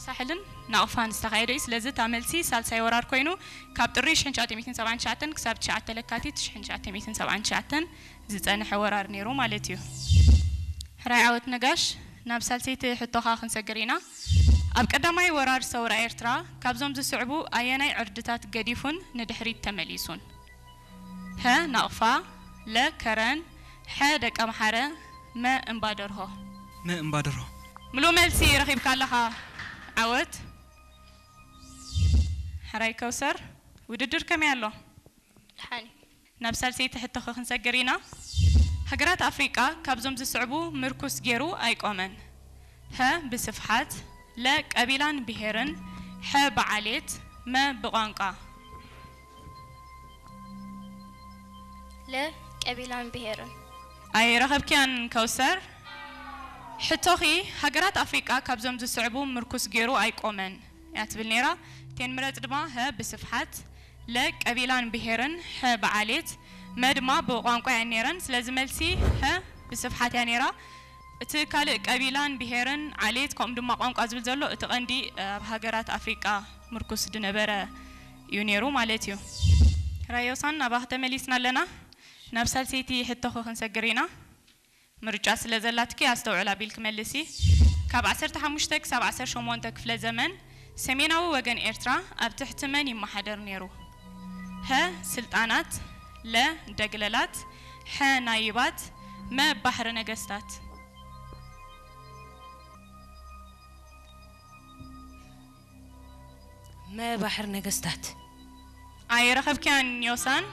ሳሕልን ናቕፋን ዝተኻየደ እዩ። ስለዚ እታ መልሲ ሳልሳይ ወራር ኮይኑ ካብ ጥሪ ሽሕን ትሽዓተ ሚእትን ሰብዓን ትሽዓተን ክሳብ ትሽዓተ ለካቲት ሽሕን ትሽዓተ ሚእትን ሰብዓን ትሽዓተን ዝጸንሐ ወራር ነይሩ ማለት እዩ። ሕራይ ዓወት ነጋሽ፣ ናብ ሳልሰይቲ ሕቶኻ ክንሰግር ኢና። ኣብ ቀዳማይ ወራር ሰውራ ኤርትራ ካብዞም ዝስዕቡ ኣየናይ ዕርድታት ገዲፉን ንድሕሪት ተመሊሱን? ሀ ናቕፋ፣ ለ ከረን፣ ሐ ደቀምሓረ፣ መ እምባደርሆ። መ እምባደርሆ። ምሉእ መልሲ ረኺብካ ኣለኻ። ዓወት። ሕራይ ከውሰር፣ ውድድር ከመይ ኣሎ? ደሓን እዩ። ናብ ሳልሰይቲ ሕቶኸ ክንሰግር ኢና። ሃገራት ኣፍሪቃ ካብዞም ዝስዕቡ ምርኩስ ገይሩ ኣይቆመን። ሀ ብስፍሓት፣ ለ ቀቢላን ብሄርን፣ ሐ ብዓሌት፣ መ ብቋንቋ። ለ ቀቢላን ብሄርን። ኣይረኸብክያን ከውሰር። ሕቶኺ ሃገራት ኣፍሪቃ ካብዞም ዝስዕቡ ምርኩስ ገይሩ ኣይቆመን እያ ትብል ነይራ። ቴን ምረጽ ድማ ሀ ብስፍሓት፣ ለ ቀቢላን ብሄርን፣ ሐ ብዓሌት፣ መ ድማ ብቋንቋ እየን ነይረን። ስለዚ መልሲ ሀ ብስፍሓት እያ ነይራ። እቲ ካልእ ቀቢላን ብሄርን ዓሌት ከምኡ ድማ ቋንቋ ዝብል ዘሎ እቲ ቀንዲ ኣብ ሃገራት ኣፍሪቃ ምርኩስ ዝነበረ እዩ ነይሩ ማለት እዩ። ሕራይ ዮሳን ናባኺ ተመሊስና ኣለና። ናብ ሳልሰይቲ ሕቶኺ ክንሰግር ኢና። ምርጫ ስለ ዘላትኪ ኣስተውዕል ኣቢልኪ መልሲ። ካብ ዓሰርተ ሓሙሽተ ክሳብ ዓሰርተ ሸሞንተ ክፍለ ዘመን ሰሜናዊ ወገን ኤርትራ ኣብ ትሕቲ መን ይመሓደር ነይሩ? ሀ ስልጣናት፣ ለ ደግለላት፣ ሐ ናይባት፣ መ ባሕሪ ነገስታት። መ ባሕሪ ነገስታት። ኣይረኸብክያን ዮሳን።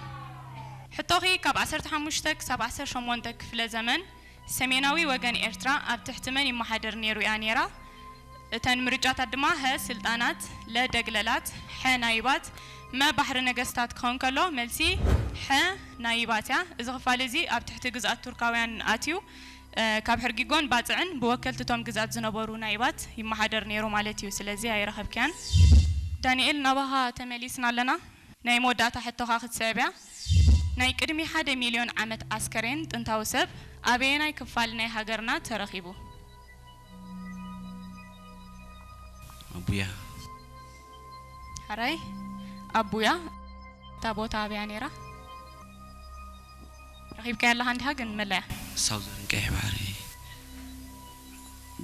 ሕቶኺ ካብ ዓሰርተ ሓሙሽተ ክሳብ ዓሰርተ ሸሞንተ ክፍለ ዘመን ሰሜናዊ ወገን ኤርትራ ኣብ ትሕቲ መን ይመሓደር ነይሩ እያ ነይራ። እተን ምርጫታት ድማ ሀ ስልጣናት፣ ለ ደግለላት፣ ሐ ናይባት፣ መ ባሕሪ ነገስታት ክኸውን ከሎ መልሲ ሐ ናይባት እያ። እዚ ክፋል እዚ ኣብ ትሕቲ ግዝኣት ቱርካውያን ኣትዩ እ፣ ካብ ሕርጊጎን ባጽዕን ብወከልቲ እቶም ግዝኣት ዝነበሩ ናይባት ይመሓደር ነይሩ ማለት እዩ። ስለዚ ኣይረኸብክያን። ዳንኤል ናባኻ ተመሊስና ኣለና። ናይ መወዳእታ ሕቶኻ ክትስዕብ እያ። ናይ ቅድሚ ሓደ ሚልዮን ዓመት ኣስከሬን ጥንታዊ ሰብ ኣበየናይ ክፋል ናይ ሃገርና ተረኺቡ? ኣቡያ። ሕራይ ኣቡያ። እታ ቦታ ኣበያ ነይራ? ረኺብካያ ኣለኻ እንዲኻ ግን መለያ። ሳውዘርን ቀይሕ ባሕሪ፣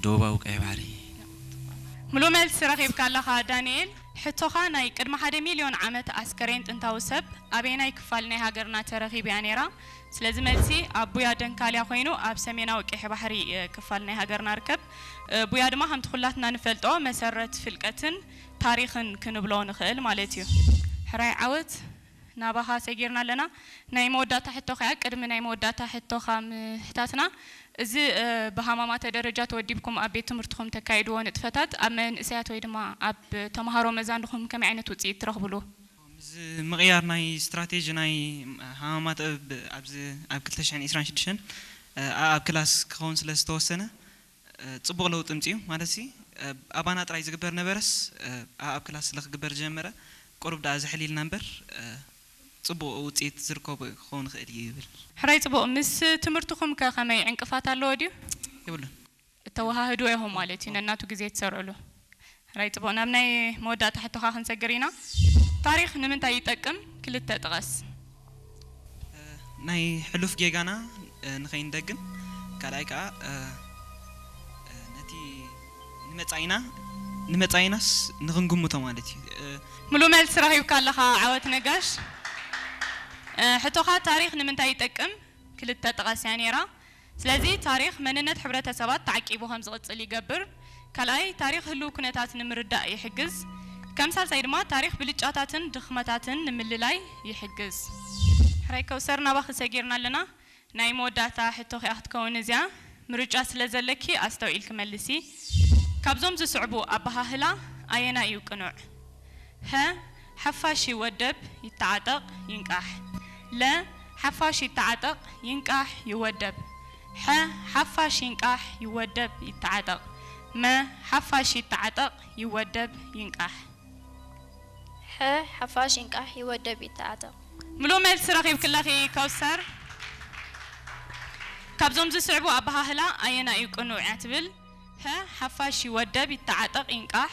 ደቡባዊ ቀይሕ ባሕሪ። ምሉእ መልሲ ረኺብካ ኣለኻ ዳንኤል። ሕቶኻ ናይ ቅድሚ ሓደ ሚልዮን ዓመት ኣስከሬን ጥንታዊ ሰብ ኣበየናይ ክፋል ናይ ሃገርና ተረኺቡ እያ ነይራ? ስለዚ መልሲ ኣብ ቡያ ደንካልያ ኮይኑ ኣብ ሰሜናዊ ቀይሕ ባሕሪ እ፣ ክፋል ናይ ሃገርና ርከብ። እ፣ ቡያ ድማ ከምቲ ኩላትና ንፈልጦ መሰረት ፍልቀትን ታሪኽን ክንብሎ ንኽእል ማለት እዩ። ሕራይ ዓወት ናባኻ ሰጊርና ኣለና። ናይ መወዳእታ ሕቶ ከኣ ቅድሚ ናይ መወዳእታ ሕቶኻ ምሕታትና እዚ እ፣ ብሃማማተ ደረጃ ተወዲብኩም ኣብ ቤት ትምህርትኹም ተካይድዎ ንጥፈታት ኣብ መንእሰያት ወይ ድማ ኣብ ተምሃሮ መዛንድኹም ከመይ ዓይነት ውፅኢት ትረኽብሉ? እዚ ምቕያር ናይ ስትራቴጂ ናይ ሃማማ ጥበብ ኣብዚ ኣብ ክልተ ሽሕን ዕስራን ሽዱሽተን ኣብ ክላስ ክኸውን ስለ ዝተወሰነ ጽቡቕ ለውጢ ምጽኡ ማለት ሲ ኣባና ጥራይ ዝግበር ነበረስ ኣብ ክላስ ስለ ክግበር ዝጀመረ ቁሩብ ደኣ ዝሕል ኢልና እምበር ጽቡቕ ውጽኢት ዝርከቦ ክኸውን ይኽእል እዩ ይብል። ሕራይ ጽቡቕ። ምስ ትምህርትኹም ከ ከመይ ዕንቅፋት ኣለዎ ድዩ? የብሉን። እተወሃህድዎ ኢኹም ማለት እዩ ነናቱ ግዜ ትሰርዕሉ። ሕራይ ጽቡቕ። ናብ ናይ መወዳእታ ሕቶኻ ክንሰግር ኢና። ታሪኽ ንምንታይ ይጠቅም? ክልተ ጥቐስ። ናይ ሕሉፍ ጌጋና ንኸይንደግም ካልኣይ ከዓ ነቲ ንመጻኢና ንመጻኢናስ ንኽንግምቶ ማለት እዩ። ምሉእ መልሲ ረኺብካ ኣለኻ ዓወት ነጋሽ። ሕቶኻ ታሪኽ ንምንታይ ይጠቅም? ክልተ ጥቐስ እያ ነይራ። ስለዚ ታሪኽ መንነት ሕብረተሰባት ተዓቂቡ ከም ዝቕጽል ይገብር። ካልኣይ ታሪኽ ህሉው ኩነታት ንምርዳእ ይሕግዝ። ከም ሳልሳይ ድማ ታሪኽ ብልጫታትን ድኽመታትን ንምልላይ ይሕግዝ። ሕራይ ከውሰር ናባኺ ሰጊርና ኣለና። ናይ መወዳእታ ሕቶኺ እያ ክትከውን እዚኣ። ምርጫ ስለ ዘለኪ ኣስተውዒልኪ መልሲ። ካብዞም ዝስዕቡ ኣበሃህላ ኣየናይ እዩ ቅኑዕ? ሀ ሓፋሽ ይወደብ ይተዓጠቕ ይንቃሕ። ለ ሓፋሽ ይተዓጠቕ ይንቃሕ ይወደብ። ሐ ሓፋሽ ይንቃሕ ይወደብ ይተዓጠቕ። መ ሓፋሽ ይተዓጠቕ ይወደብ ይንቃሕ። ሐ ሓፋሽ ይንቃሕ ይወደብ ይተዓጠቕ። ምሉእ መልሲ ረኺብኪ ኣለኺ ከውሰር። ካብዞም ዝስዕቡ ኣበሃህላ ኣየናይ እዩ ቅኑዕ እያ ትብል? ሀ ሓፋሽ ይወደብ ይተዓጠቕ ይንቃሕ።